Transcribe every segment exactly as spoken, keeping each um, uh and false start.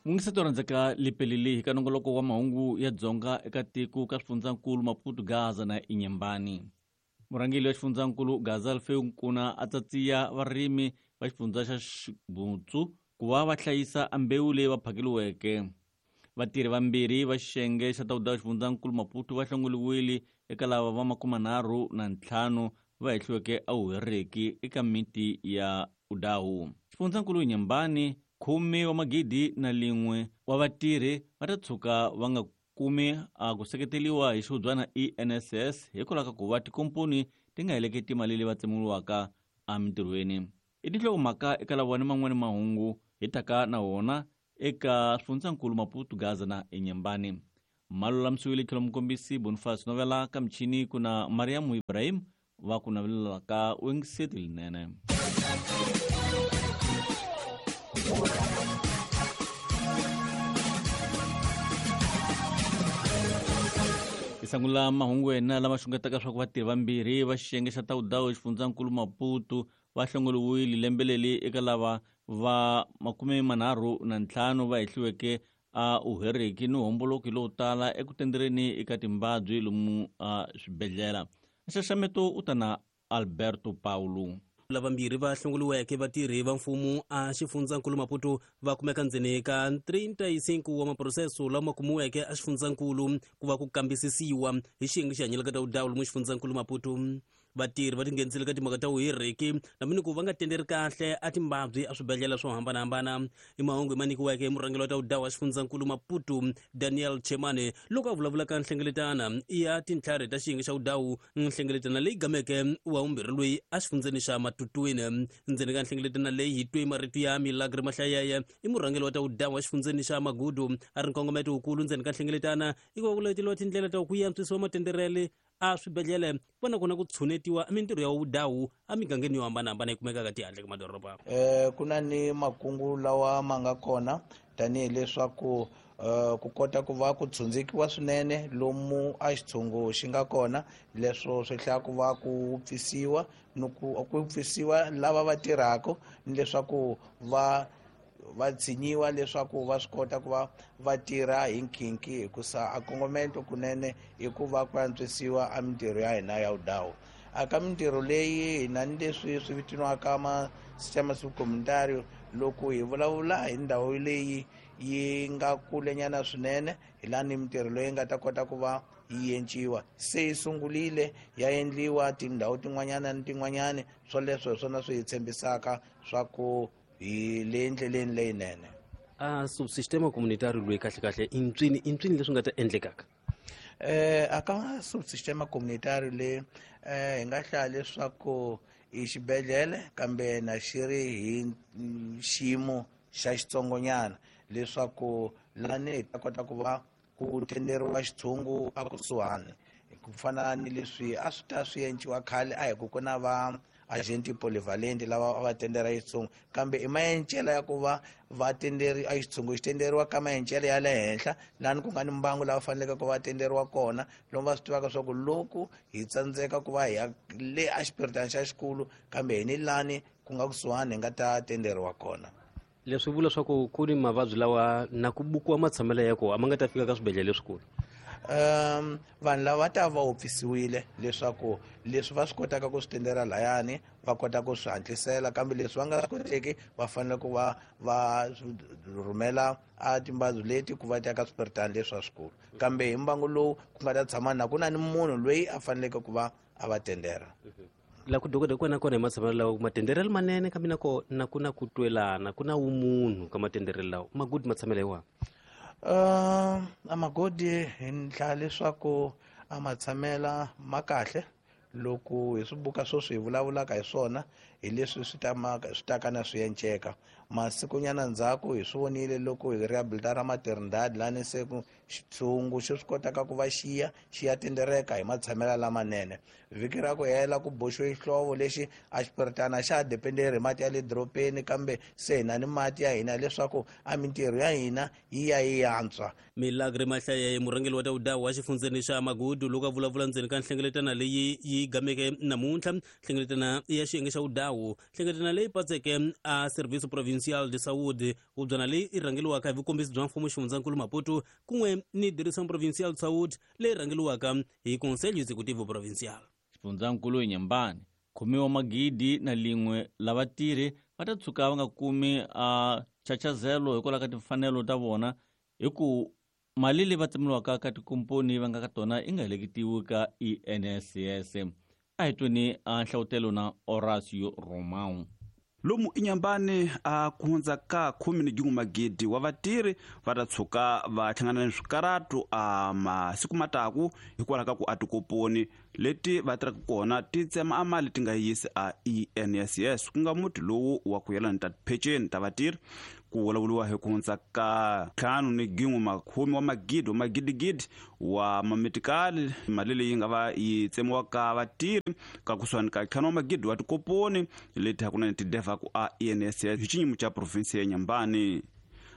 Mungiseto rhandzeka lipelili hi ka nongoloko wa mahungu ya Dzonga eka tiko ka swifundzakulu Maputo, Gaza na Inhambane. Murhangeri wa xifundzankulu Gaza Alfeu Nkuna a tsatsiya varimi va xifundza xa Xibutsu ku va va hlayisa mbewu leyi va phakeliweke. Vatirhi vambirhi va xiyenge xa tawuda xifundzankulu Maputo va hlongoliwile eka lava va makumanharhu na ntlhanu va hehliweke a huhereki eka miti ya Udahu. Xifundzankulu Inhambane khume wa magidi na lin'we wa vatirhi va ta tshuka va nga kumi a ku seketeliwa hi xihubyana E N S S hikwalaho ka ku va tikomponi ti nga heleketi mali leyi va tsemiwaka emintirhweni. I tinhlokomhaka eka lava ni man'wani mahungu hi taka na wona eka swifundzakulu Maputo, Gaza na Inhambane. Malulamisiwile tlhelo mukombisi Boniface Novela ka michini ku na Mariam Ibrahim va ku navelelaka wingiseti linene. Hi sungula mahungu yena lama xungetaka swa ku vatirhi vambirhi va xiyenge xa tawudawu xifundzankulu Maputo va hlongoliwile lembe leri eka lava va makume manharhu na ntlhanu va hehliweke a uhereki ni homboloki lowo tala eku tendereni eka timbabyi lomu a swibedhlele. Nxaxameto u ta na Alberto Paulo. Lavambirhi va hlongoliweke vatirhi va mfumo a xifundzankulu Maputo va kumeka ndzeni ka trinta e cinco wa maproseso lama kumiweke a xifundzankulu ku va ku kambisisiwa hi xiyenge xi hanyelaka ta vudawu lomu xifundzankulu Maputo. Vatirhi va tinghenisile ka timhaka ta vuhiriki na ku va nga tenderi kahle a timbabyi a swibedhlele swo hambanahambana. I mahungu ma nyikiweke hi murhangeri wa ta vudawu wa xifundzankulu Maputo Daniel Chemane loko a vulavula ka nhlengeletana ya tintlhari ta xiyenge xa vudawu, nhlengeletana leyi gameke wa vumbirhi loyi a xifundzeni xa Matutuine. Ndzeni ka nhlengeletana leyi hi twe marito ya Milagre Mahlayeye, i murhangeri wa ta vudawu wa xifundzeni xa Magudu, a ri nkongometo wukulu ndzeni ka nhlengeletana i ku va ku leteliwa tindlela ta ku antswisiwa matenderele a swibedhlele va na kona ku tshunetiwa mintirho ya vudawu emigangeni yo hambanahambana yi kumekaka tihandle ka madoroba. Eh ku na ni makungu lawa ma nga kona tanihileswaku eh ku kota ku va ku tshundzikiwa swinene lomu a xitshungu xi nga kona, leswo swi hlaya ku va ku pfisiwa ni ku ku pfisiwa lava va tirhaka ni leswaku va va tshinyiwa leswaku va swi kota ku va va tirha hi nkhinkhi, hikusa a kongomento kunene i ku va ku antswisiwa a mintirho ya hina ya vudawu. A ka mintirho leyi hina ni leswi swi vitaniwaka ma sistema subcomunitario, loko hi vulavula hi ndhawu leyi yi nga kulenyana swinene, hi laha ni mintirho leyi nga ta kota ku va yi enciwa. Se yi sungurile ya endliwa tindhawu tin'wanyana ni tin'wanyana, swoleswo hi swona swi hi tshembisaka swa ku hi le ndleleni leyinene. A subsistema comunitario loyi kahle kahle i ntswini i ntswini leswi nga ta endlekaka? Eh a ka subsistema comunitario le eh hi nga hlaya leswaku i xibedhlele kambe na xi ri hi xiyimo xa xitsongonyana, leswaku lani hi ta kota ku va ku tenderiwa xitshungu a kusuhani, ku fana ni leswi a swi ta swi enciwa khale a hi ku ku na va agenti polyvalent lava va tendera xitshungu, kambe i maencela ya ku va va tenderi a xitshungu xi tenderiwa ka maencela ya le henhla lani ku nga ni mbangu lava faneleke ku va tenderiwa kona, lomu va swi tivaka swa ku loko hi tsandzeka ku va hi ya le a xipiritana xa xikulu kambe hi ni lani ku nga kusuhani hi nga ta tenderiwa kona. Leswi vula swa ku ku ni mavabyi lawa na ku bukiwa matshamelo ya kona a ma nga ta fika ka swibedhlele leswikulu. Um vanhu lava va ta va wopfisiwile leswaku leswi va swi kotaka ku swi tendera layani va kota ku swi hatlisela, kambe leswi va nga swi koteki va fanele ku va va rhumela a timbabyi leti ku va ta ka swipiritana leswi swikulu, kambe hi mbangu lowu ku nga ta tshama na ku na ni munhu loyi a faneleke ku va a va tendera. La ku dokodela kona kona hi matshamelo lawa matenderelo manene, kambe na kona ku na ku twelana, ku na vumunhu ka matenderelo lawa magudi matshamelo hi wahi? Uh, a magodi hi ndlela leswaku a matshamela ma kahle loko hi swi buka sweswi hi vulavulaka hi swona hi leswi swi ta swi taka na swi enceka. Masikunyana ndzhaku hi swi vonile loko hi rehabilitara maternidad lani se ku xitshungu xi swi kotaka ku va xiya xi ya tendereka hi matshamelo lamanene. Vhiki ra ku hela ku boxiwe xihlovo lexi a xipiritana xa ha dependeri hi mati ya le dorobeni, kambe se hi na ni mati ya hina leswaku a mintirho ya hina yi ya yi antswa. Milagre Mahlayeye, murhangeri wa ta vudawu wa xifundzeni xa Magudu, loko a vulavula ndzeni ka nhlengeletana leyi yi gameke namuntlha, nhlengeletana ya xiyenge xa vudawu, nhlengeletana leyi patseke a Serviço Provincial Provincial de Saúde hubyana leyi i rhangeliwaka hi vukombisi bya mfumo xifundzankulu Maputo kun'we ni Direção Provincial de Saúde leyi rhangeliwaka hi Conselho Executivo Provincial. Xifundzankulu Inhambane khume wa magidi na lin'we lava tirhi va ta tshuka va nga kumi a chachazelo hikwalaho ka timfanelo ta vona hi ku mali leyi va tsemeliwaka ka tikomponi va nga ka tona yi nga heleketiwi ka I N S S. A hi tweni a nhlavutelo na Horacio Romão. Lomu Inhambane a ku hundza ka khume ni jin'we magidi wa vatirhi va ta tshuka va hlangana ni swikaratu a masiku mataku hikwalaho ka ku a tikoponi leti va tirhaka kona ti tsema a mali ti nga yisi a I N S S ku nga muti lowu wa ku yelana ta tipheceni ta vatirhi. Ku vulavuriwa hi ku hundza ka ntlhanu ni gin'we makhume wa magidi wa magidigidi wa mametikali mali leyi nga va yi tsemiwa ka vatirhi ka kusuhani ka ntlhanu wa magidi wa tikoponi leti hakunene ti devaku a I N S S hi xinyimo xa provinsi ya Inhambane.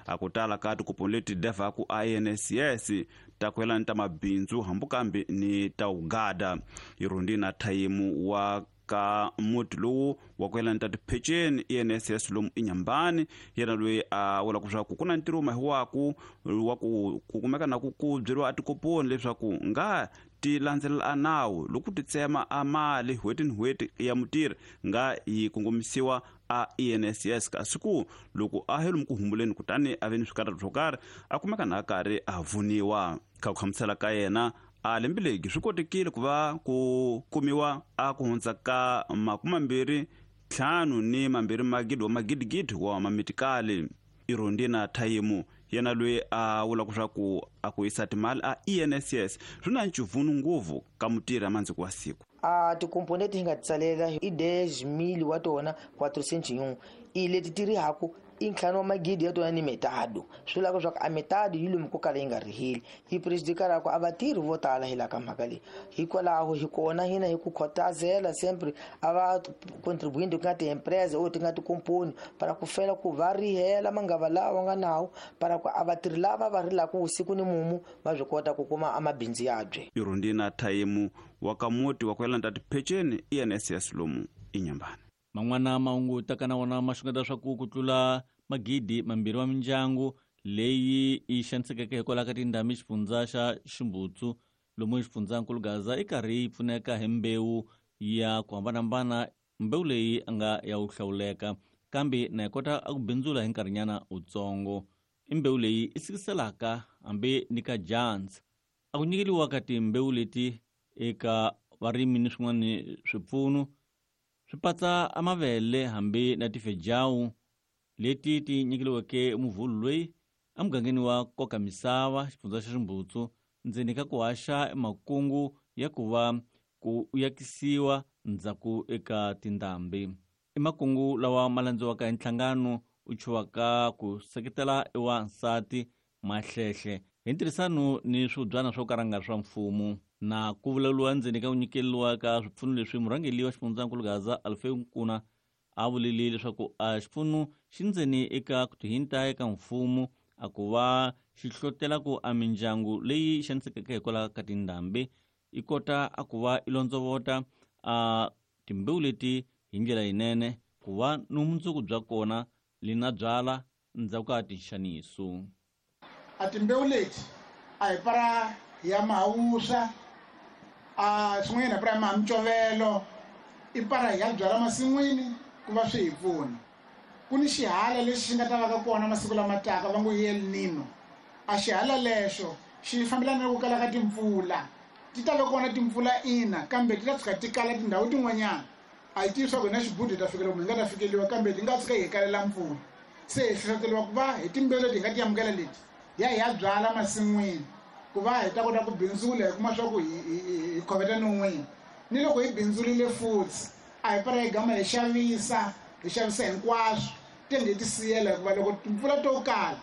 A ku tala ka tikoponi leti devaku a I N S S ta ku yelana ta mabindzu hambi kambe ni ta ugada. Irundina Thayimu wa ka muti lowu wa ku yelana ta tipheceni I N S S lomu Inhambane yena loyi a vula leswaku ku na ntirho mahiwaku wa ku ku kumeka na ku ku byeriwa a tikoponi leswaku nga ti landzelela a nawu loko ti tsema a mali n'hweti ni n'hweti ya mutirhi nga yi kongomisiwa a I N S S kasi ku loko a he lomu ku humbuleni kutani a ve ni swikarhato swo karhi a kumeka na a karhi a vuniwa. Ka ku hlamusela ka yena a lembe legi swi kotekile ku va ku kumiwa a ku hundza ka makumambirhi ntlhanu ni mambirhi magidi wa magidigidi wa mamitikali. Irundina Thayimu yena loyi a vulaka leswaku a ku yisa timali a I N S S swi na ncivunu ngopfu ka mutirhi a mandziko wa siku. A tikomponi leti hi nga ti tsalela i dez mil wa tona quatrocentos e um i leti ti rihaku i ntlhanu wa magidi ya tona ni metado swi vulaka leswaku a metado yi lomu ko kala yi nga riheli yi prejudicaraku a vatirhi vo tala hi laha ka mhaka leyi. Hikwalaho hi kona hina hi ku khotazela sempre a va contribuinte ku nga ti-empresa or ti nga tikomponi para ku fela ku va rihela mangava lawa nga nawu para ku a vatirhi lava va rilaka vusiku ni mumu va swi kota ku kuma a mabindzu yabye. Irundina Thayimu wa ka muti wa ku yelana ta tipheceni I N S S lomu Inhambane. Man'wana mahungu taka na wona ma xungeta swa ku ku tlula magidi mambirhi wa mindyangu leyi yi xanisekeke hikwalaho ka tindhambi xifundza xa Ximbutsu lomu xifundzankulu Gaza i karhi yi pfuneka hi mbewu ya ku hambanahambana mbewu leyi a nga ya wu hlawuleka kambe na yi kota a ku bindzula hi nkarhinyana wutsongo. I mbewu leyi i sikiselaka hambi ni ka dyandza. A ku nyikeliwa ka timbewu leti eka varimi ni swin'wana swipfuno swi patsa a mavele hambi na tifejawu leti ti nyikeliweke muvhulu loyi emugangeni wa koka misava xifundza xa Ximbutsu ndzeni ka ku haxa makungu ya ku va ku yakisiwa ndzhaku eka tindhambi. I makungu lawa ma landziwaka hi nhlangano u chuwaka ku seketela ewansati Mahlehle hi ntirhisano ni swibyana swo karanga swa mfumo na ku vulavuriwa ndzeni ka ku nyikeliwa ka swipfuno leswi murhangeri wa xifundzankulu Gaza Alfeu Nkuna a vulile leswaku a xipfuno xi ndzeni eka ku tihinta eka mfumo a ku va xi hlotela ku a mindyangu leyi xanisekeke hikwalaho ka tindhambi yi kota a ku va i londzovota a timbewu leti hi ndlela yinene ku va ni vumundzuku bya kona li na byala ndzhaku ka tinxaniso. A timbewu leti a hi para ya mahawusa a swin'wanyana hi para ya mahamicovelo i para hi ya byala masin'wini ku va swi hi pfuna. Ku ni xihala lexi xi nga ta va ka kona masiku lama taka va ngo i El Nino. A xihala lexo xi fambelana na ku kala ka timpfula. Ti ta va kona timpfula ina kambe ti ta tshuka ti kala tindhawu tin'wanyana. A hi tivi swa ku hina xibudu hi ta fikela kumbe hi nga ta fikeliwa kambe ti nga tshuka hi kalela mpfula. Se hi hlohloteriwa ku va hi timbewu leti hi nga ti amukela leti hi ya hi ya byala masin'wini ku va hi ta kota ku bindzula hi kuma swa ku hi hi khoveta non'wini. Ni loko hi bindzurile futhi a hi para hi gama hi xavisa hi xavisa hinkwaswo tenge hi ti siyela hikuva loko timpfula to kala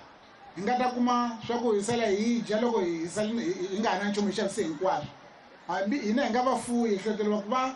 hi nga ta kuma swa ku hi sala hi dya loko hi sala hi nga ha na nchumu hi xavise hinkwaswo. Hambi hina hi nga vafuwi hi hlohloteriwa ku va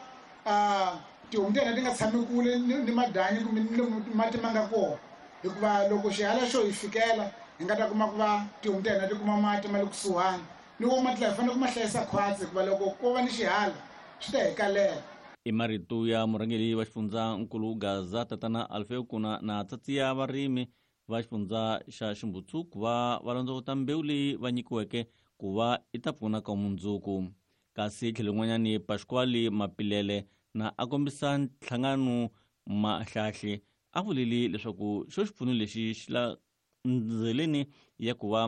tihomu ta hina ti nga tshami kule ni madanyi kumbe ni lomu mati ma nga kona hikuva loko xihala xo hi fikela hi nga ta kuma ku va tihomu ta hina ti kuma mati ma le kusuhani ni wo mati lawa hi fanele ku ma hlayisa khwatsi hikuva loko ko va ni xihala swi ta hi kalela. I marito ya murhangeri wa xifundzankulu Gaza tatana Alfeu Nkuna na tsatsiya varimi va xifundza xa Ximbutsu ku va va londzovota mbewu leyi va nyikiweke ku va i ta pfuna ka mundzuku. Kasi tlhelo rin'wanyani Pasquale Mapilele na a kombisa nhlangano Mahlahle a vulile leswaku xo xipfuno lexi xi la ndzeleni ya ku va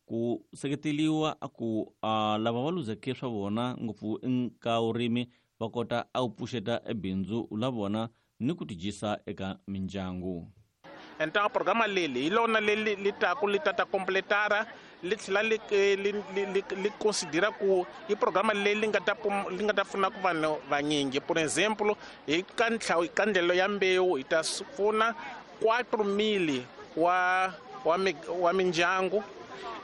ku seketeliwa a ku lava va luzeke swa vona ngopfu ka vurimi va kota a ku pfuxeta ebindzu la vona ni ku tidyisa eka mindyangu. Então a programa leli hi lona leli li taku li tata completara li tlhela li li li li considera ku i programa leyi li nga ta li nga ta pfuna ku vanhu vanyingi. Por exemplo, hi ka ntlhawu ka ndlelo ya mbewu hi ta pfuna quatro mil wa wa wa mindyangu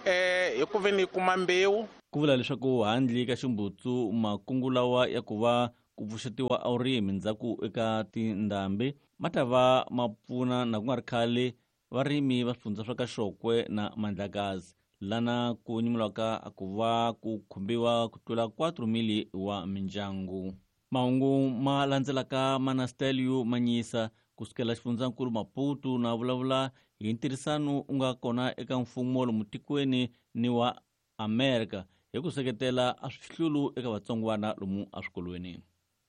eh hi ku veni hi kuma mbewu. Ku vula leswaku handle ka Ximbutsu makungu lawa ya ku va ku pfuxetiwa a vurimi ndzhaku eka tindhambi ma ta va ma pfuna na ku nga ri khale varimi va swifundza swa ka Xokwe na Mandlakazi lana ku nyimulaka ku va ku khumbiwa ku tlula quatro mil wa mindyangu. Mahungu ma landzelaka Manastelio Manyisa kusukela xifundzankulu Maputo na vulavula hi ntirhisano u nga kona eka mfumo lomu tikweni ni wa Amerika hi ku seketela a swihlulu eka vatsongwana lomu eswikolweni.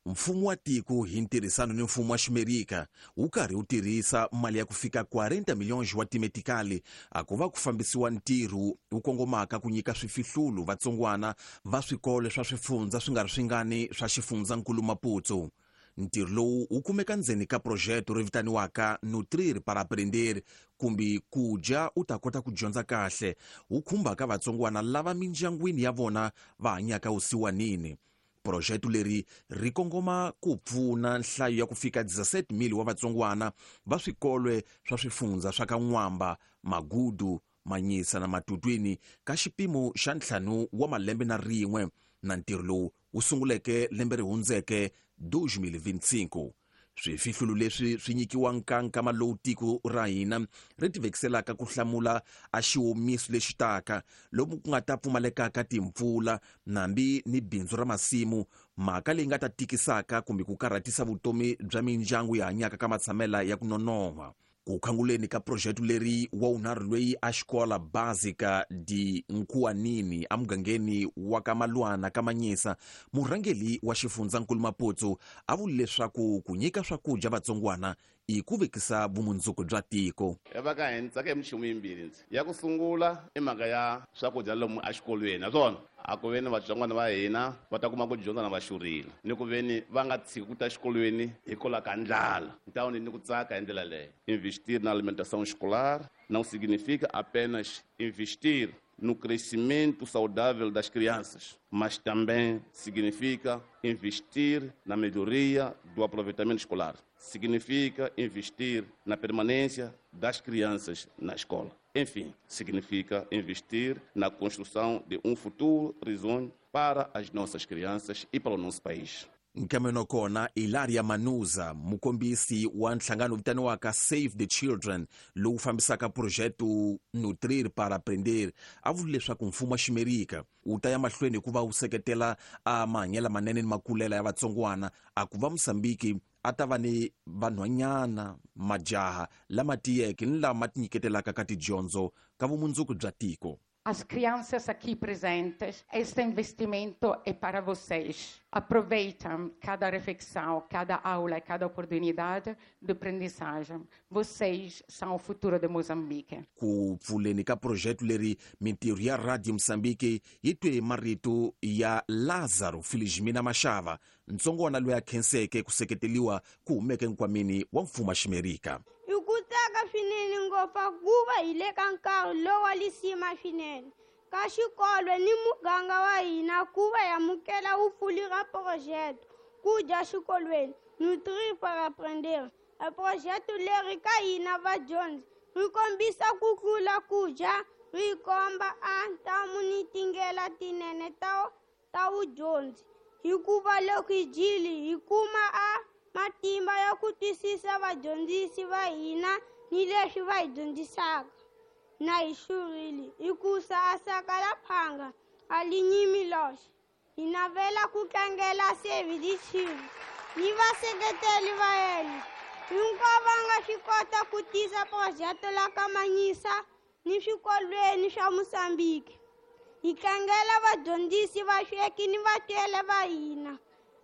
Mfumo wa tiko hi ntirhisano ni mfumo wa Ximerika wu karhi wu tirhisa mali ya ku fika quarenta milhões wa timetikali a ku va ku fambisiwa ntirho wu kongomaka ku nyika swifihlulu vatsongwana va swikolo swa swifundza swi nga ri swingani swa xifundzankulu Maputo. Ntirho lowu wu kumeka ndzeni ka projeto ri vitaniwaka Nutrir para Aprender kumbe ku dya u ta kota ku dyondza kahle wu khumbaka vatsongwana lava mindyangwini ya vona va hanyaka vusiwanini. Projeto leri ri kongoma ku pfuna nhlayo ya ku fika dezessete mil wa vatsongwana va swikolwe swa swifundza swa ka N'wamba, Magudu, Manyisa na Matutwini ka xipimo xa ntlhanu wa malembe na rin'we na ntirho lowu wu sunguleke lembe ri hundzeke dois mil e vinte e cinco. Swifihlulu leswi swi nyikiwa nkankama lowu tiko ra hina ri tivekiselaka ku hlamula a xiwomiso lexi taka lomu ku nga ta pfumalekaka timpfula nambi ni bindzu ra masimu, mhaka leyi nga ta tikisaka kumbe ku karhatisa vutomi bya mindyangu yi hanyaka ka matshamela ya ku nonoha. Ku khanguleni ka projeto leri wa wunharhu loyi a xikola básica de Nkuanini emugangeni wa ka Malwana ka Manyisa, murhangeri wa xifundzankulu Maputo a vule leswaku ku nyika swakudya vatsongwana i ku vekisa vumundzuku bya tiko. Va ka hina tsaka hi minchumu yimbirhi ndzi ya ku sungula i mhaka ya swakudya lomu exikolweni naswona a ku veni vatsongwana va hina va ta kuma ku dyondza na va xurile ni ku veni va nga tshiki ku ta exikolweni hikwalaho ka ndlala ntawuni ni ku tsaka hi ndlela leyo. Investir na alimentação escolar não significa apenas investir no crescimento saudável das crianças, mas também significa investir na melhoria do aproveitamento escolar. Significa investir na permanência das crianças na escola. Enfim, significa investir na construção de um futuro risonho para as nossas crianças e para o nosso país. Nkameno kona Ilaria Manuza, mukombisi wa nhlangano vitaniwaka Save the Children lowu fambisaka projeto Nutrir para Aprender, a vule leswaku mfumo wa Ximerika wu ta ya mahlweni ku va wu seketela a mahanyelo manene ni makulela ya vatsongwana a ku va Mosambiki a ta va ni vanhwanyana majaha lama tiyeke ni lama tinyiketelaka ka tidyondzo ka vumundzuku bya tiko. As crianças aqui presentes, este investimento é para vocês. Aproveitem cada refeição, cada aula, cada oportunidade de aprendizagem. Vocês são o futuro de Moçambique. Ku pfuleni ka projeto leri mintirho ya Radio Moçambique yi twe marito ya Lázaro Felizmina Mashava, ntsongwana loyi a khenseke ku seketeliwa ku humeke nkwameni wa mfumo wa Ximerika. Tsaka swinene ngopfu ku va hi le ka nkarhi lowa lisima swinene ka xikolo ni muganga wa hina ku va amukela vupfuli ra projeto ku dya xikolweni Nutrir para Aprender. A projeto leri ka hina vadyondzi ri kombisa ku tlula ku dya, ri komba a ntamu ni tindlela tinene ta ta vudyondzi hikuva loko hi dyile hi kuma a matimba ya ku twisisa vadyondzisi va hina ni leswi va hi dyondzisaka na hi xurile hikusa a saka la phanga a li nyimi loxe. Hi navela ku tlangela Save the Children. ni vaseketeli va yena hinkwavo va nga swi kota ku tisa projeto la ka Manhiça ni swikolweni swa Mozambique. Hi tlangela vadyondzisi, vasweki ni vatwele va hina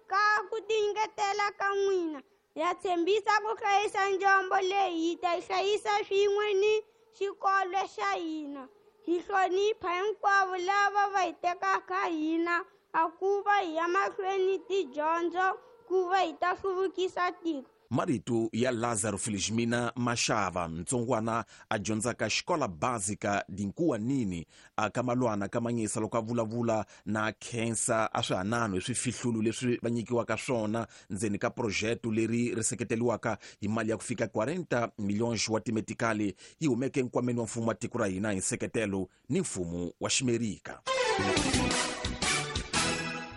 ka ku tinyiketela ka n'wina. Ya tshembisa ku hlayisa njombo leyi hi ta yi hlayisa swin'we ni xikolo xa hina. Hi hlonipha hinkwavo lava va hi tekaka hina a ku va hi ya mahlweni tidyondzo ku va hi ta hluvukisa tiko. Marito ya Lazaro Felizmina Mashava, ntsongwana a dyondzaka xikola básica Dinkuwanini a ka Malwana ka Manhiça, loko a vulavula na khensa a swihanano hi swifihlulu leswi va nyikiwaka swona ndzeni ka projeto leri ri seketeriwaka hi mali ya ku fika quarenta milhões wa timetikali yi humeke nkwameni wa mfumo wa tiko ra hina hi nseketelo ni mfumo wa Ximerika.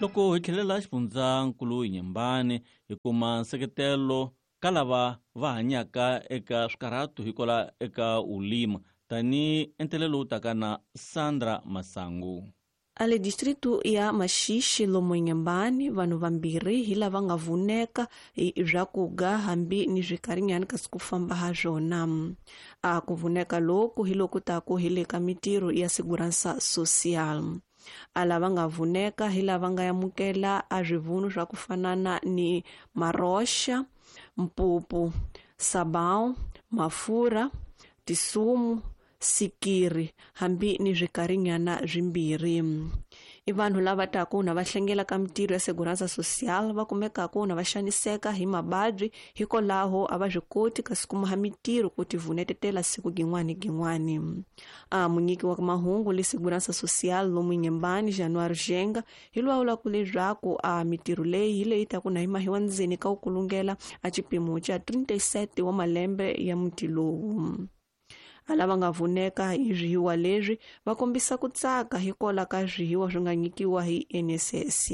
Loko hi tlhelela xifundzankulu Inhambane hi kuma nseketelo ka lava va hanyaka eka swikarhato hikwalaho eka ulima tani entelelo lowu taka na Sandra Masangu. Ale distrito ya Maxixe lomu Inhambane vanhu vambirhi hi lava nga vuneka hi swakuga hambi ni swikarinyani kasi ku famba ha swona. A ku vuneka loku hi loku taku hi le ka mitirho ya segurança social. A lava nga vuneka hi lava nga yamukela a swivunu swa ku fanana ni maroxa, mpupu, sabão, mafura, tisumu, sikiri hambi ni swikarinyana swimbirhi. I vanhu lava taku na va hlengela ka mitirho ya segurança social va kumekaka na va xaniseka hi mababyi hikwalaho a va swi koti kasi kuma ha mitirho ku tivunetetela siku gin'wani gin'wani. A munyiki wa mahungu le segurança social lomu Inhambane Januário Jenga hi lwawula ku leswaku a mitirho leyi hi leyi taku na hi mahiwa ndzeni ka ku kulungela a xipimo xa trinta e sete wa malembe ya muti lowu. A lava nga vuneka hi swihiwa leswi va kombisa ku tsaka hikwalaho ka swihiwa swi nga nyikiwa hi N S S.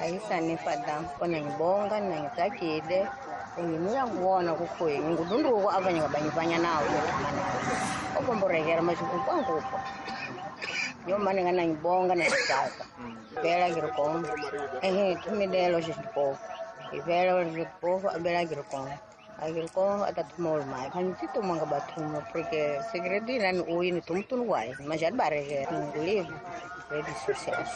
Ayisanifada kona ngibonga nangitsakile nginuya kuwona kukhuye ngudunduko abanye ngabanyivanya nawo obomborekera mashikunkwangupo yo mane ngana ngibonga nangitsaka vela ngirikomba ehe thumilelo xixikofu ivela xixikofu abela ngirikomba Agiriko atatumol mai kanti tumanga batumo porque segredo ni ui ni tumtun guai mas já barre livre redes sociais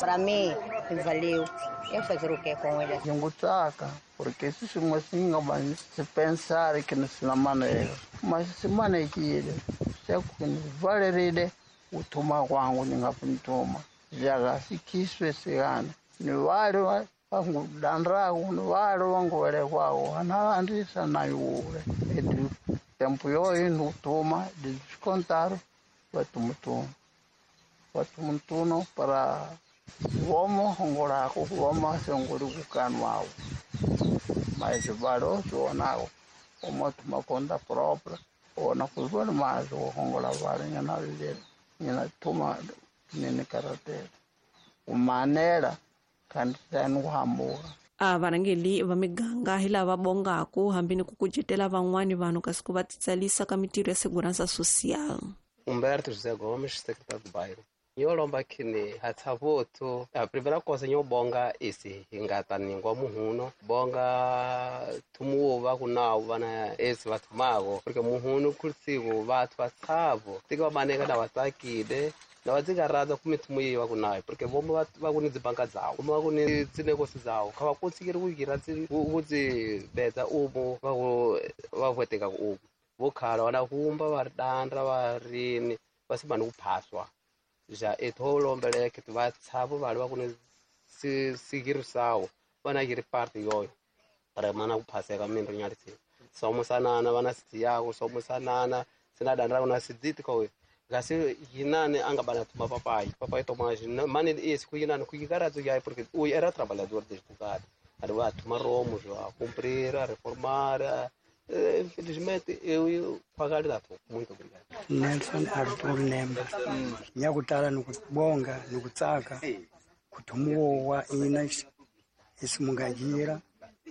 para mim valeu eu fazer o que com ele ngutaka porque se mosinga ban se pensar que não se na maneira mas se manekile se ku valerile utuma kwangu ningapintuma jaga sikiswe sigana ni wale vangudandraku ni vale vanguvelekwaku analandisa nayule edi tempo yoyo nutuma de descontar vatumutuma vatumutuna para vomo hongolako vomo sengoli kukanwawo mas vale sionako omotuma conta própria ona kuzvona mazi wohongola vale nyana nyana tuma nene karatela umanela kanti kuhambuka. A varhangeli va miganga hi lava bongaku hambi ni ku kucetela van'wani vanhu kasi ku va titsalisa ka mitirho ya segurança social. Humberto José Gomes, secretário do bairro. Nyolomba kini hatsavoto. A primeira coisa nyobonga esse ingata ningwa muhuno bonga tumuwo vakunawo vana esse vatumago porque muhuno kurtsigo vatu vatsavo tika vaneka na vatsakile na vatsikarata kumitumu yeyi vakunayo porque vomo vakuni dzibanka dzawo vomo vakuni dzinekosi dzawo kha va konsikiri ku yira ku dzi betsa umo vaku va vweteka umo vo khala vana humba va ri dandra va rini va simani ku phaswa já etho lombeleke va tshavo vale va ku ni sigirisawo vana yiri parte yoyo para mana ku phaseka mindro nyalitsi somusanana vana siyako somusanana sina dandra kuna sidziti ko gasi yinani anga bana tuma papai papai tomage mane esse ku yinani ku yikaradzo yayi porque o era trabalhador desde bocado ali va tuma romo já cumprir a reformar. Infelizmente eu pagar dato. Muito obrigado. Nelson Arthur Nemba. Nyakutala nukubonga nukutsaka kutumuwa ina isimungajira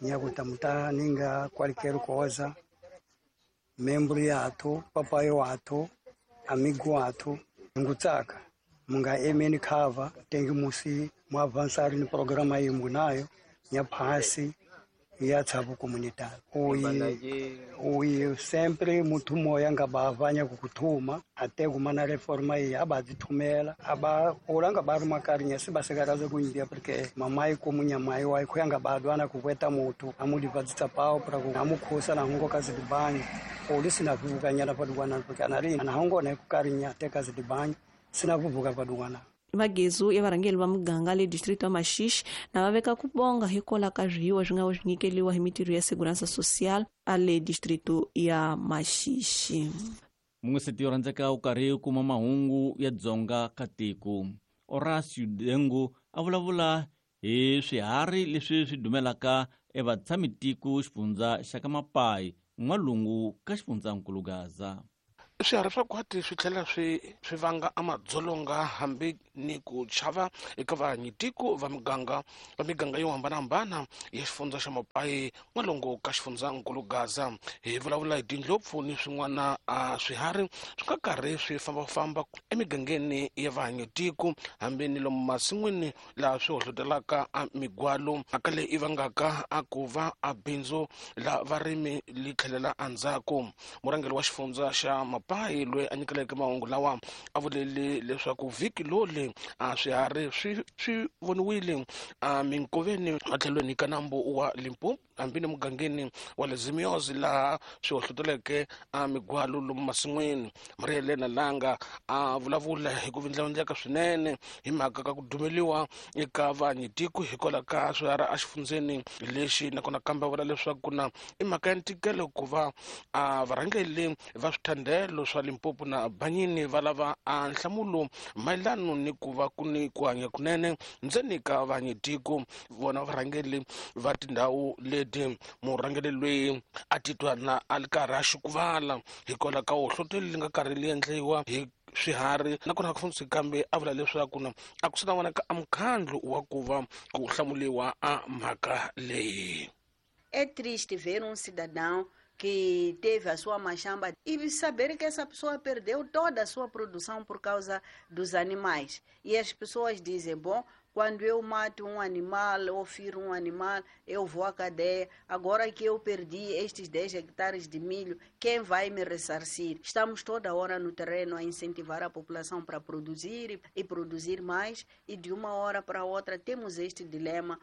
nyakutamta ninga qualquer coisa membro yato papai wato amigo wato ngutsaka munga emeni cover tengi musi mu avançar no programa aí munayo nyaphasi Ya tshabu comunidade. Uyi uyi sempre muthu moya nga bavanya kukuthuma até kumana reforma iyi abazithumela aba olanga baruma karinya sibasekaraze kuindia porque mamai komunyamai wa khuyanga badwana kukweta muthu amulivadzitsa pao para amukhusa na hongo kazidibanya polisi na vuvukanyana padukwana porque anari na hongo na kukarinya te kazidibanya sina vuvuka padukwana. Magezu ya varhangeri va muganga le distrito ya Maxixe na va veka ku bonga hikwalaho ka swiyiwa swi nga swi nyikeriwa hi mitirho ya Segurança Social a le distrito ya Maxixe. Mungeseti yo rhandzeka u karhi u kuma mahungu ya Dzonga ka tiko. Horacio Dengo a vulavula hi swiharhi leswi swi dumelaka evatshamitiko xifundza xa ka Mapai n'walungu ka xifundzankulu Gaza. Swiharhi swa khwati swi tlhela swi swi vanga amadzolonga hambi ni ku chava eka vahanyitiko va miganga va miganga yo hambanahambana ya xifundza xa Mapai n'walungu ka xifundzankulu Gaza. Hi vulavula hi tindlopfu ni swin'wana a swiharhi swi nga karhi swi fambafamba emigangeni ya vahanyitiko hambi ni lomu masin'wini laha swi hohlotelaka a migwalo mhaka leyi i vangaka a ku va a bindzu la varimi li tlhelela endzhaku. Murhangeri wa xifundza xa Mapai loyi a nyikeleke mahungu lawa a vulele leswaku vhiki loli a swiharhi swi swi voniwile a minkoveni matlhelweni ka nambu wa Limpopo hambi ni mugangeni wa le Zimiozi laha swi hohloteleke a migwalo lomu masin'wini. Maria Helena Langa a vulavula hi ku vindlavindleka swinene hi mhaka ka ku dumeliwa eka vahanyitiko hikwalaho ka swiharhi exifundzeni lexi, nakona kambe a vula leswaku na i mhaka ya ntikelo ku va a varhangeri va swithandelo swa Limpopo na Banyini va lava a nhlamulo mayelano ni ku va ku ni ku hanya kunene ndzeni ka vahanyitiko vona varhangeri va tindhawu leti. Murhangeri loyi a titwa na a ri karhi a xukuvala hikwalaho ka hohlotelo li nga karhi li endliwa hi swiharhi, nakona ku fundzi kambe a vula leswaku na a ku swi na vonaka a mukhandlu wa ku va ku hlamuliwa a mhaka leyi. É triste ver um cidadão que teve a sua machamba e saber que essa pessoa perdeu toda a sua produção por causa dos animais. E as pessoas dizem, bom, quando eu mato um animal ou firo um animal, eu vou à cadeia. Agora que eu perdi estes dez hectares de milho, quem vai me ressarcir? Estamos toda hora no terreno a incentivar a população para produzir e produzir mais, e de uma hora para outra temos este dilema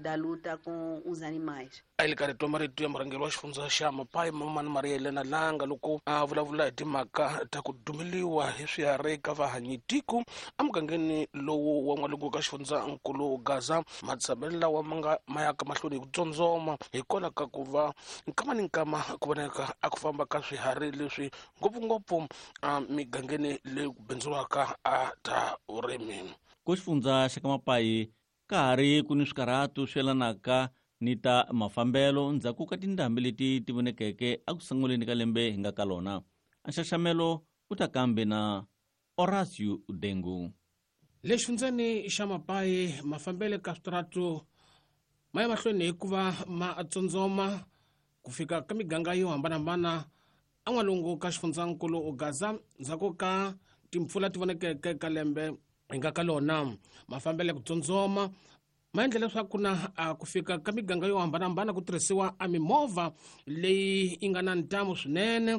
da luta com os animais. A le karhi twa marito ya murhangeri wa xifundza xa Mapai Mamani Maria Helena Langa loko a vulavula hi timhaka ta ku dumeliwa hi swiharhi ka vahanyitiko emugangeni lowu wa n'walungu ka xifundzankulu Gaza. Matshamelo lawa ma nga ma yaka mahlweni hi ku tsondzoma hikwalaho ka ku va nkama ni nkama ku vonaka a ku famba ka swiharhi leswi ngopfungopfu emigangeni leyi ku bindzuriwaka a ta vurimi. Ku xifundza xa ka Mapai ka ha ri ku ni swikarhatu swi yelanaka ni ta mafambelo ndzhaku ka tindhambi leti ti vonekeke eku sunguleni ka lembe hi nga ka lona. Nxaxamelo u ta kambe na Horacio Dengu. Le xifundzeni xa Mapai mafambelo ka switaratu ma ya mahlweni hikuva ma tsotsoma ku fika ka miganga yo hambanahambana en'walungu ka xifundzankulu Gaza ndzhaku ka timpfula ti vonekeke ka lembe hi nga ka lona. Mafambelo ku tsotsoma ma endla leswaku na ku fika ka miganga yo hambanahambana ku tirhisiwa a mimovha leyi yi nga na ntamu swinene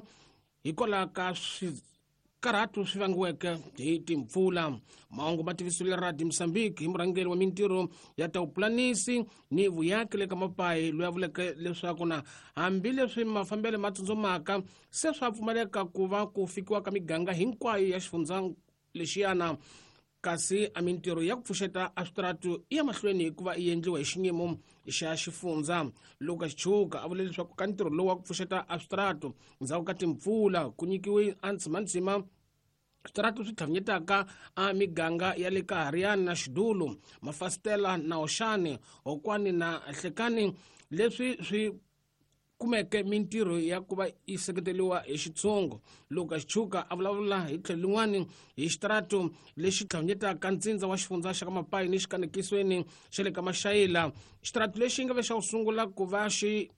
hikwalaho ka swikarhatu swi vangiweke hi timpfula. Mahungu ma tivisiwile Radio Mozambique hi murhangeri wa mintirho ya ta vupulanisi ni vuyaki le ka Mapai loyi a vuleke leswaku na hambileswi mafambelo ma tsotsomaka se swa pfumaleka ku va ku fikiwa ka miganga hinkwayo ya xifundza lexiyana, kasi a mintirho ya ku pfuxeta a switaratu i ya mahlweni hikuva yi endliwa hi xinyimo xa xifundza. Lucas Chuka a vule leswaku ka ntirho lowu wa ku pfuxeta a switaratu ndzhaku ka timpfula ku nyikiwe a ntsimantsima switaratu swi tlhavinyetaka a miganga ya le ka Hariana na Xidulu, Mafasitela na Oxani, Hokwani na Hlekani, leswi swi kumeke mintirho ya ku va yi seketeriwa hi xitshungu. Lucas Chuka a vulavula hi tlhelo lin'wani hi xitaratu lexi tlhavinyetaka ntsindza wa xifundza xa ka Mapai ni xikanekisweni xa le ka Maxayila. Xitaratu lexi nga ve xa ku sungula ku va xi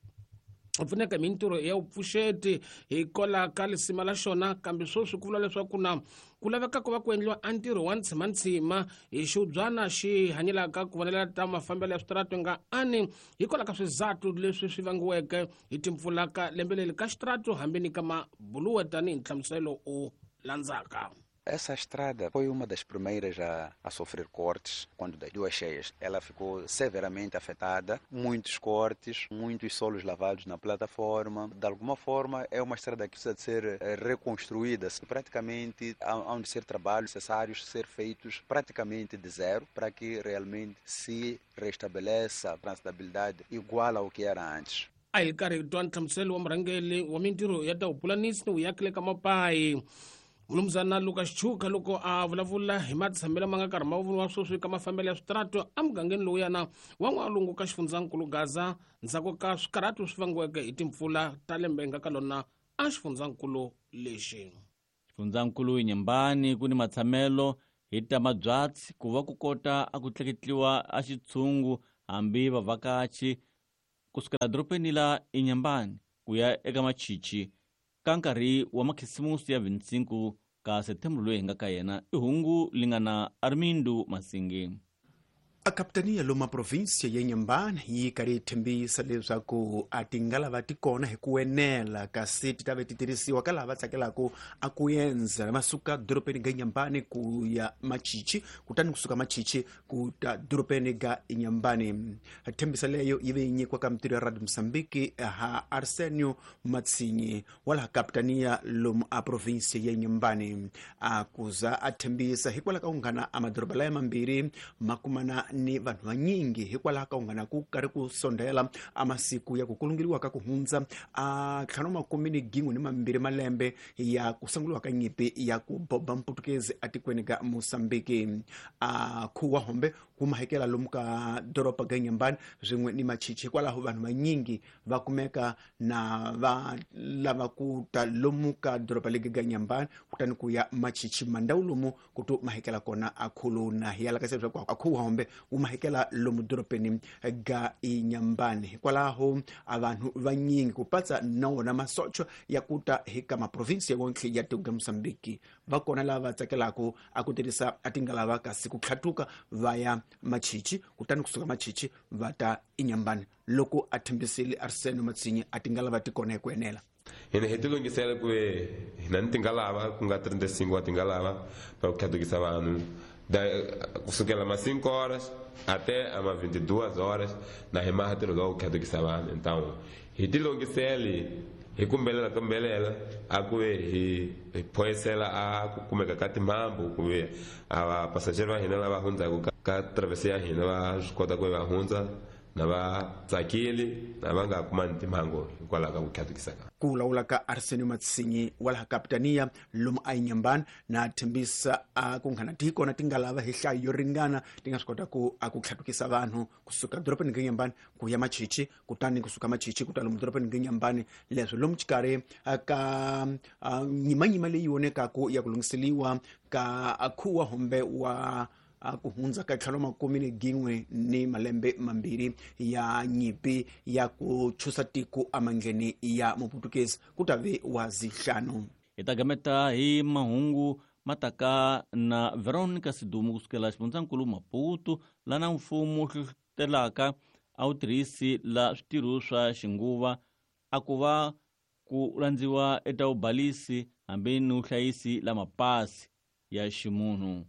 pfuneka mintirho ya vupfuxeti hikwalaho ka lisima la xona kambe sweswi ku vula leswaku na ku laveka ku va ku endliwa a ntirho wa ntshimantsima hi xiubyana xi hanyelaka ku vonela ta mafambelo ya switaratu nga ani hikwalaho ka swizathu leswi swi vangiweke hi timpfula ka lembe leri ka xitaratu hambi ni ka mabuluwe tanihi nhlamuselo o landzaka. Essa estrada foi uma das primeiras a, a sofrer cortes quando das duas cheias. Ela ficou severamente afetada, muitos cortes, muitos solos lavados na plataforma. De alguma forma, é uma estrada que precisa de ser reconstruída. Praticamente, há de ser trabalhos necessários ser feitos praticamente de zero para que realmente se restabeleça a transitabilidade igual ao que era antes. A hi karhi hi twa nhlamuselo wa murhangeri wa mintirho ya ta vupulanisi ni vuyakile ka mapayi Mulumzana Lucas Chuka loko a vulavula hi matshamelo ma nga karhi ma voniwa sweswi ka mafambelo ya switaratu emugangeni lowuyana wa n'walungu ka xifundzankulu Gaza ndzhaku ka swikarhatu swi vangiweke hi timpfula ta lembe nga ka lona a xifundzankulu lexi. Xifundzankulu Inhambane ku ni matshamelo hi ta mabyatsi ku va ku kota a ku tleketliwa a xitshungu hambi vavhakachi kusukela dorobeni la Inhambane ku ya eka Machichi ka nkarhi wa makhisimusi ya vintsinku ka September loyi hi nga ka yena i hungu lingana Armindo Masingi. A kapitania loma província ya Inhambane yi karhi yi tshembisa leswaku a tingalava ti kona hi ku enela kasi ti ta ve ti tirhisiwa ka lava tsakelaka a ku endza va suka dorobeni ga Inhambane ku ya Machichi kutani kusuka Machichi ku ta dorobeni ga Inhambane. Tshembisa leyo yi ve yi nyikiwa ka mintirho ya Radio Mozambique ha Arsenio Matsinyi wa laha kapitania lomu a província ya Inhambane a kuza a tshembisa hikwalaho ka ku nghana a madoroba laya mambirhi ma kumana ni vanhu vanyingi hikwalaho ka ku nghana ku karhi ku sondela a masiku ya ku kulungeriwa ka ku hundza a ntlhanu makume ni gin'we ni mambirhi malembe ya ku sunguriwa ka nyimpi ya ku boba mputukezi atikweni ka Mozambique. A khuwa hombe wu mahekela lomu ka doroba ga Inhambane swin'we ni Machichi hikwalaho vanhu vanyingi va kumeka na va lava ku ta lomu ka doroba legi ga Inhambane kutani ku ya Machichi mandhawu lomu ku to mahekela kona a khuluna hi yala ka se leswaku a khuwa hombe wu mahekela lomu dorobeni ga Inhambane hikwalaho a vanhu vanyingi ku patsa na wona masocho ya ku ta hi ka maprovinsi ya wonke ya tiko ga Mozambique va kona lava tsakelaka a ku tirhisa a tingalava kasi ku tlhatuka va ya Machichi kutani kusuka Machichi va ta Inhambane loko a tshembisile Arsenio Matsinyi a tingalava ti kona hi ku enela. Hina hi tilunghisela ku hina ni tingalava ku nga trinta e cinco wa tingalava para ku tlhatukisa vanhu kusukela ma cinco horas até ama vinte e duas horas na hi maha ntirho lowu ku tlhatukisa vanhu. Então hi tilunghisele hi kumbelela kumbelela a ku ve hi hi phoyisela a ku kumeka ka timhambu ku ve a vapasajeri va hina lava hundzaka ka travesi ya hina va swi kota ku va hundza na va tsakile na va nga kumani timhangu hikwalaho ka ku tlhatukisa ka ku vulavula ka Arsenio Matsinyi wa laha kapitania lomu a Inhambane na tshembisa a ku nghana ti kona tingalava hi nhlayo yo ringana ti nga swi kota ku a ku tlhatukisa vanhu kusuka dorobeni ga Inhambane ku ya Machichi kutani kusuka Machichi ku ta lomu dorobeni ga Inhambane leswi lomu xikarhi ka nyimanyima leyi vonekaku ya ku lunghiseliwa ka khuwa hombe wa ku hundza ka ntlhanu makume ni gin'we ni malembe mambirhi ya nyimpi ya ku chusa tiko emandleni ya muputukezi ku ta ve wa zihlanu. Hi ta gameta hi mahungu mataka na Veronica Sidumo kusukela xifundzankulu Maputo lana mfumo hlohlotelaka a wu tirhisi la switirho swa xinguva a ku va ku landziwa eta vubalisi hambi ni vuhlayisi la mapasi ya ximunhu.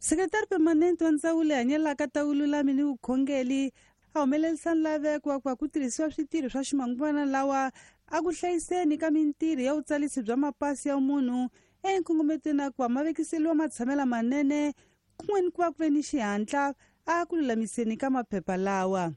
Secretário permanente wa ndzawulo hanyelaka ta vululami ni vukhongeri a humelerisa nlaveko wa ku va ku tirhisiwa switirho swa ximanguvana lawa a ku hlayiseni ka mintirho ya vutsalisi bya mapasi ya munhu enkongometweni a ku va ma vekiseliwa matshamela manene kun'we ni ku va ku ve ni xihatla a ku lulamiseni ka maphepha lawa.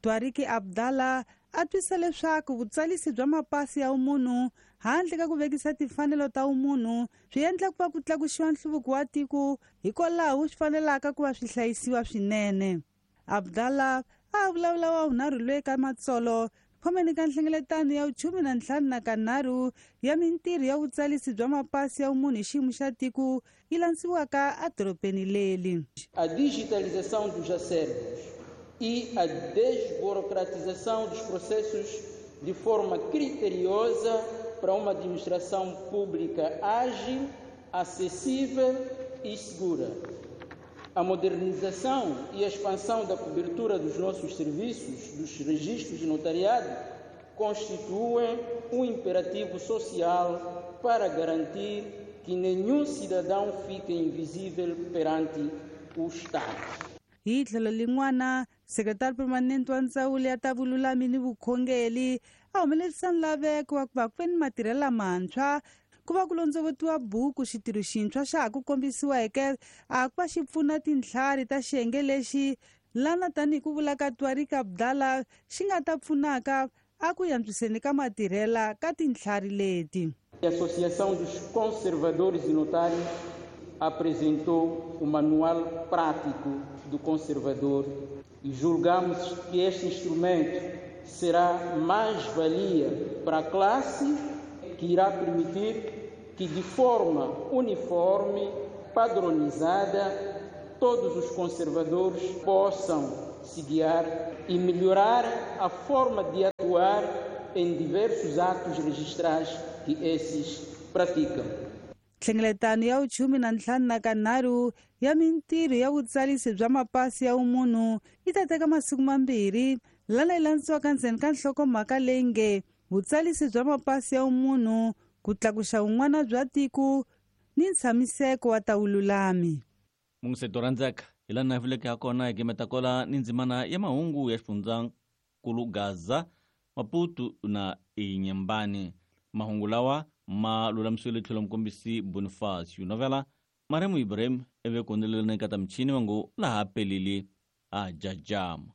Twariki Abdallah a twisa leswaku vutsalisi bya mapasi ya munhu handle ka ku vekisa timfanelo ta umunhu swi endla ku va ku tlakusiwa nhluvuko wa tiko hikwalaho swi fanelaka ku va swi hlayisiwa swinene. Abdallah a vulavula wa vunharhu loyi ka matsolo khomeni ka nhlengeletano ya vuchumu na ntlhanu na kanharhu ya mintirho ya vutsalisi bya mapasi ya umunhu hi xiyimo xa tiko yi landsiwaka edorobeni leri. A digitalização dos acervos e a desburocratização dos processos de forma criteriosa para uma administração pública ágil, acessível e segura. A modernização e a expansão da cobertura dos nossos serviços, dos registros de notariado, constituem um imperativo social para garantir que nenhum cidadão fique invisível perante o Estado. Hi tlhelo lin'wana, sekretari permanente wa ndzawulo ya ta vululami ni vukhongeri a humelerisa nlaveko wa ku va ku ve ni matirhelo lamantshwa ku va ku londzovotiwa buku xitirho xintshwa xa ha ku kombisiweke a ku va xi pfuna tintlhari ta xiyenge lexi lana tanihi ku vula ka Twarika Abdallah xi nga ta pfunaka a ku antswiseni ka matirhela ka tintlhari leti. A Associação dos Conservadores e Notários apresentou o Manual Prático do Conservador e julgamos que este instrumento será mais-valia para a classe, que irá permitir que, de forma uniforme, padronizada, todos os conservadores possam se guiar e melhorar a forma de atuar em diversos atos registrais que esses praticam. Nhlengeletano ya vuchumi na ntlhanu na kanharhu ya mintirho ya vutsalisi bya mapasi ya vumunhu yi ta teka masiku mambirhi lana yi landzisiwaka ndzeni ka nhlokomhaka leyi nge vutsalisi bya mapasi ya vumunhu ku tlakuxa vun'wana bya tiko ni ntshamiseko wa ta vululami. Mungiseto rhandzeka hi laha na vuleke ha kona hi gimetakola ni ndzimana ya mahungu ya xifundzankulu Gaza, Maputo na Inhambane. Mahungu lawa ma lulamisiwile tlhelo mukombisi Boniface Novela Maremu Ibrahim eve kondelelana eka ta michini va ngo laha pelile a jajama.